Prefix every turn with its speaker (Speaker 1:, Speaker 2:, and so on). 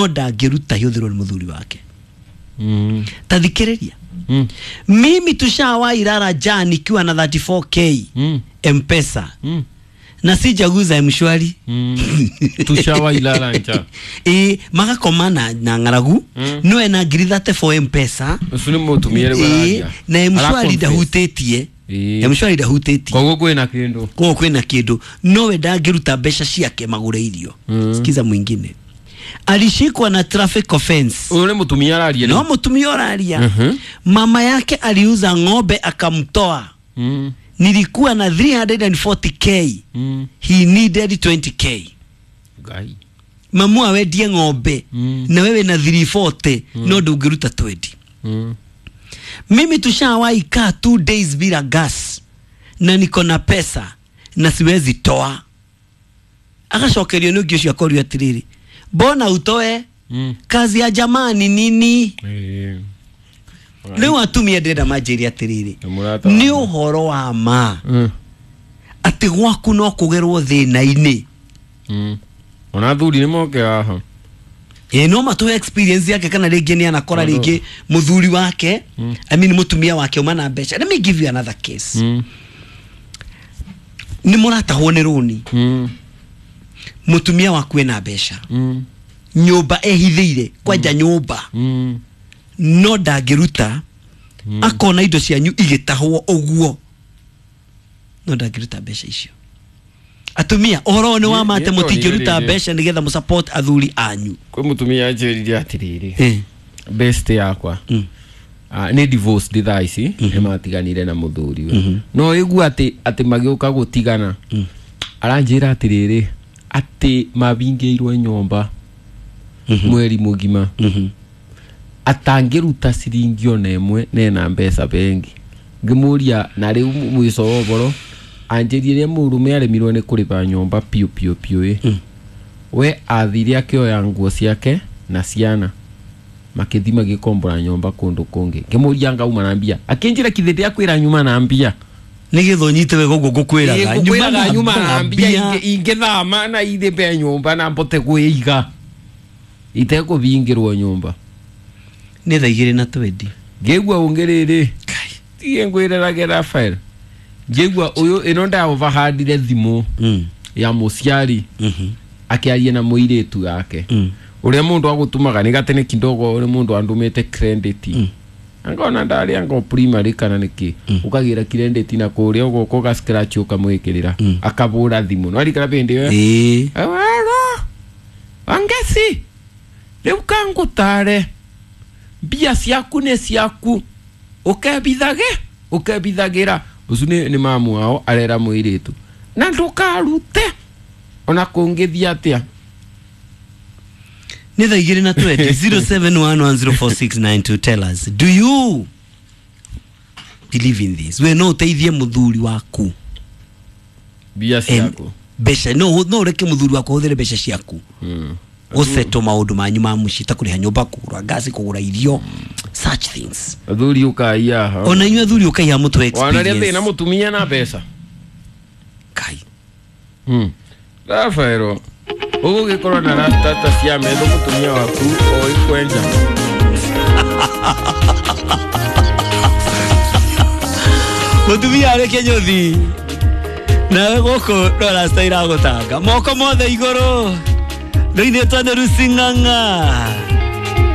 Speaker 1: No ndangĩruta ihũthĩrwo nĩ mũthuri wake. Ta thikĩrĩria. Mimi tushawahi lala njaa nikiwa na 34K Mpesa na sijaguza Mshwari.
Speaker 2: Tushawahi lala njaa.
Speaker 1: Ĩ magakoma na ng'aragu no ena ngiri 34 Mpesa.
Speaker 2: Ũcio nĩ mũtumia rĩu
Speaker 1: Ĩ,
Speaker 2: araria.
Speaker 1: na Mshwari
Speaker 2: Ara-confess.
Speaker 1: ndahutĩtie.
Speaker 2: Ĩ.
Speaker 1: Mshwari ndahutĩtie.
Speaker 2: Koguo kwĩna kĩndũ.
Speaker 1: Koguo kwĩna kĩndũ nowe ndangĩruta mbeca ciake magũre irio. Sikiza mwingine alishikwa na traffic offense.
Speaker 2: Ũyũ nĩ mũtumia araria.
Speaker 1: No mũtumia ũraria. Mama yake aliuza ng'ombe akamtoa. Nilikuwa na 340K. He needed 20K.
Speaker 2: Ngai.
Speaker 1: Mamu awendie ng'ombe na wewe na 340 no ndũngĩruta 20. Mimi tushawahi kaa 2 days bila gas na niko na pesa na siwezi toa. Agacokerio nĩ ũngĩ ũcio akorio atĩrĩrĩ, mbona utoe? Kazi ya jamaa ni nini?
Speaker 2: Ĩ.
Speaker 1: Rĩu atumia ndĩrenda manjĩre atĩrĩrĩ,
Speaker 2: Nĩ mũrata
Speaker 1: nĩ
Speaker 2: wakwa.
Speaker 1: ũhoro wa ma atĩ gwaku no kũgerwo thĩna-inĩ?
Speaker 2: Ona athuri nĩ moke haha.
Speaker 1: Ĩ no matũhe experience yake kana rĩngĩ nĩ anakora rĩngĩ mũthuri wake, I mean mũtumia wake uma na mbeca. Let me give you another case. Nĩ mũratahwo nĩ rũni. Mũtumia waku ena mbeca. Nyũmba ehithĩire kwanja nyũmba. No ndangĩruta. Akona indo cianyu igĩtahwo ũguo no ndangĩruta mbeca icio. Atumia ũhoro ũyũ nĩ wa ma atĩ
Speaker 2: Nĩ- nĩ
Speaker 1: mũtingĩruta
Speaker 2: ndonire.
Speaker 1: mbeca nĩgetha mũsupport athuri anyu?
Speaker 2: Kwĩ mũtumia anjĩrire atĩrĩrĩ,
Speaker 1: Eh.
Speaker 2: best yakwa. Ah, nĩ divorced thaa ici, nĩ matiganire na mũthuriwe no ĩgua atĩ magĩũka gũtigana aranjĩra atĩrĩrĩ atĩ mabingĩirwo nyũmba mweri mũgima atangĩruta ciringi ona ĩmwe nena mbeca bengi. Ngĩmũria na rĩu mũico wa ũboro anjĩrie rĩrĩa mũrũme aremirwo nĩ kũrĩba nyũmba piũ piũ piũ ĩ we athire akĩoya nguo ciake na ciana makĩthi magĩkombora nyũmba kũndũ kũngĩ. Ngĩmũria ngauma na mbia akĩnjĩra kithĩ ndĩakwĩra nyuma na mbia.
Speaker 1: Nĩgetha ũnyite wega ũguo ngũkwĩraga.
Speaker 2: Ĩ, ngũkwĩraga nyuma na mbia ingĩthama na ithĩmbe nyũmba na mbote kwĩiga itekũbingĩrwo nyũmba.
Speaker 1: Nĩ thaa igĩrĩ na 20.
Speaker 2: Ngĩigua ũngĩ rĩrĩ tige ngwĩrerage Rafael ngĩigua ũyũ ĩno ndaovahandire thimũ ya mũciari akĩaria na mũirĩtu yake ũrĩa mũndũ agũtũmaga nĩ gatene kidogo ũrĩa mũndũ andũmĩte credit angona ndarĩ anga primary kana nĩkĩ ũkagĩra credit na kũrĩa ũgoka ũga scratch ũkamwĩkĩrĩra akabũra thimũ no arikara bĩndĩ ĩyo.
Speaker 1: Ĩĩ.
Speaker 2: Wega wangeci rĩu kangũtare mbia ciaku nĩ ciaku ũkebithage ũkebithagĩra ũcio nĩ mamu wao arera mũirĩtu na ndũkarute ona kũngĩthiĩ atĩa.
Speaker 1: Nĩ thaa igĩrĩ na 20. 07110469 tell us, do you believe in this? We no ũteithie mũthuri waku
Speaker 2: mbia ciaku
Speaker 1: mbeca no ũreke mũthuri waku ahũthĩre mbeca ciaku gũsettle maũndũ manyu ma mũciĩ ta kũrĩha nyũmba, kũgũra ngasi, kũgũra irio, such things?
Speaker 2: Athuri ũkai haha.
Speaker 1: Ona inyuĩ athuri ũkai haha mũtũhe
Speaker 2: wanaria thĩna
Speaker 1: experience.
Speaker 2: mũtumia na mbeca.
Speaker 1: Kai.
Speaker 2: Rafaelo ũgũgĩkorwo na rastata cia metho mũtumia waku oĩ kwenja.
Speaker 1: Mũtumia arĩ kĩnyũthi nawe gũkũ no rasta iragũtanga moko mothe igũrũ rĩu ithuĩ twathe Lucy Ng'ang'a.